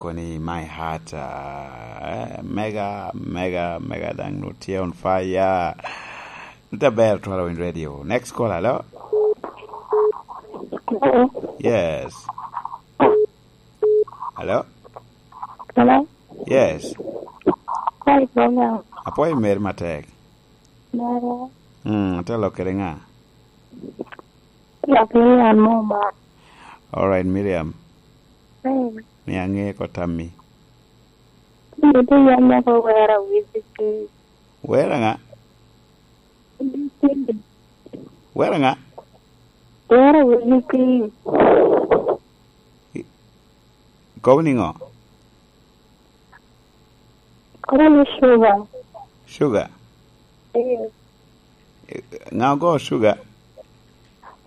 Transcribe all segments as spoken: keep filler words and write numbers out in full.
Koni my heart, ah, eh, mega, mega, mega, dang nu tye on fire. Nte ber twala winy radio. Next call, hello? Hello? Yes. Hello? Hello? Yes. Hey, Bonga. Apoyo meri matek. Mera. Mm, te lok kede nga? Lok ni an mo ma. All right, Miriam. Hey. Mi ange ko tammi. Ni ti yam mo ko wera wisi ti. Wera nga? Wisi ti. Wera nga? Wera wisi ti. I-, kobo ni ngo? Kobo ni sugar. Sugar? Eh. Eh, nga ogo sugar?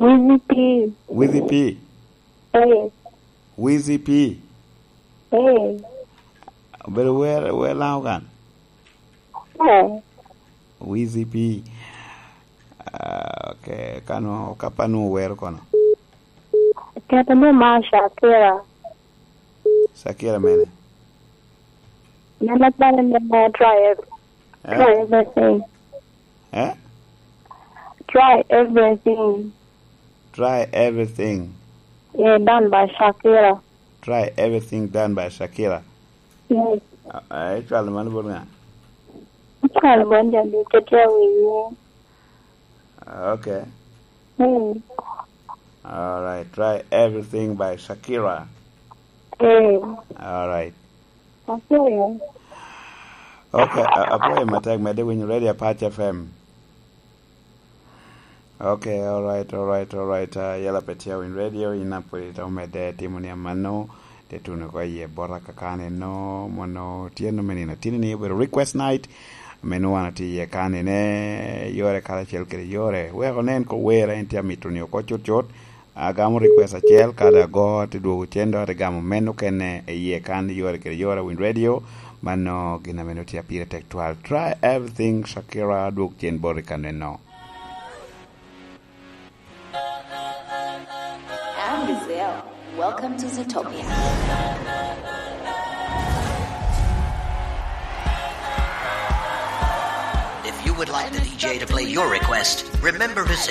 Wisi ti. Wisi ti? Eh. Wisi ti? Eh. Obedo wer, wer Lango kan? Eh. Wisi ti. Ah, okay. Kano, kapa nu wer kono? Keto ni ma Shakira. Shakira mene? Mene pare ni ma try ev-, eh? Try everything. Eh? Try everything. Try everything. Yeah, done by Shakira. Try everything done by Shakira. Yes. Ah, eh, icwalo mano bot nga? Icwalo bot jami kete awiye. Okay. Hmm. All right. Try everything by Shakira. Hmm. All right. Okay. Okay, a-, apwoyo matek, medde winyo Radio Apac F M. Okay, all right, all right, all right. Ah, yela pe tye winy radio, in a pwod ito medde timo ni amano, te tuno ko iye bota kakane no, mono tye no menino. Tini ni obedo request night, ame nwoŋo wan atye iye kani ne, yore karacel kede yore. Wek onen ko wer en tye amito ni oko cut cut. Agamo request acel, kadi ago, te dwogo cen, dok ate gamo meno kene iye kan, yore kede yore, winy radio. Mano gin ame nwoŋo tye pire tek twal. Try everything, Shakira, dwog cen bot i kaneno. I'm Gazelle. Welcome to Zootopia. If you would like the D J to play your request, remember to say